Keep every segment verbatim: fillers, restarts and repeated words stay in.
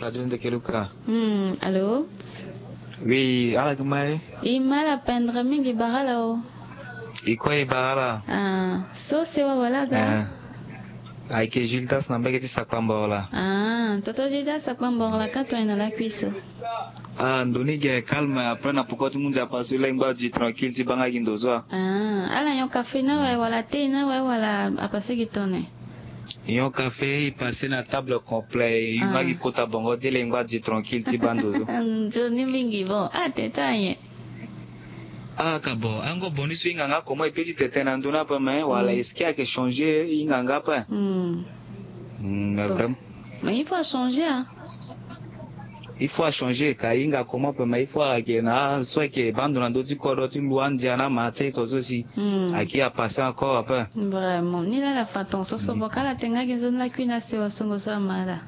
Adi ndeke luka. Hmm, allô? Oui, ala gi ma e? I ma ala pendere mingi, bara ala o. I kue i bara ala? Ah, so sewa wala aga? Eh. Ayeke Gildas na mbage ti Sakpambor la. Ah, toto Gildas Sakpambor la ka tongana lakui so. Ah, ndo ni ge calme, après na poko ti ngu Nzapa so e lengba di tranquille ti baa nga gi ndo so. Ah, ala nyon café na awe wala thé na awe wala a passé gi tone? Nyon café, i passé na table complet, i nga gi kota bongo de lengba di tranquille ti baa ndo so. Nzoni mingi bon, ah, tete anyen. Ah, ka bon, ango bon ni so hinga nga comment i pe ti tene na ndö ni ape, mais wala est-ce que ayeke changer, hinga nga ape. Hmm. Hmm, mais vraiment. Mais il faut changer, hein. Il faut achanger, ka hinga comment ape, mais il faut ayeke na so ayeke baa ndo na ndö ti kodro ti lu andia na ma ti aye to so si. Hmm. Ayeke a passé encore ape. Vraiment, ni laa ala fa tongaso so. Hmm. Bon, ka ala tene nga gi nzoni lakui na sewa songo so ama ala.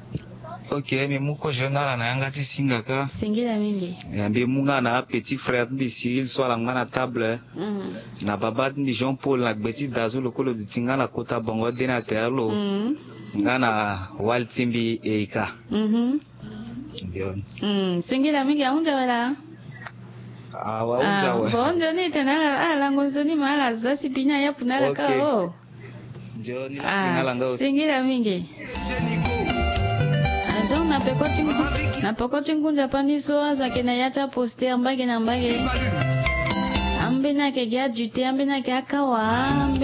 Ok, mbi mu kozo na ala na yanga ti singa ka. Singila mingi. Ya, mbi mu nga na apetit frère ti mbi Cyril so ala mu nga na table. Mm. Na babâ ti mbi Jean Paul na gbe ti da so lo kue lo duti nga na kota bongo de na tere lo. Mm. Nga na wali ti mbi Eika. Mhm. Ndio. Mm, singila mingi, ahunzi awe laa? Awa, ahunzi awe. Bon, nzoni e tene ala, ala lango nzoni ma ala za si bini ayapu na ala ka. Ok. O. Nzoni. Ah, ala nga aussi. Singila mingi. Ah, donc na peko ti ngu-, na peko ti ngu Nzapa ni so azo ayeke na ya ti aposter mbage na mbage. Ambeni ayeke gi adute, ambeni ayeke akawa, ambeni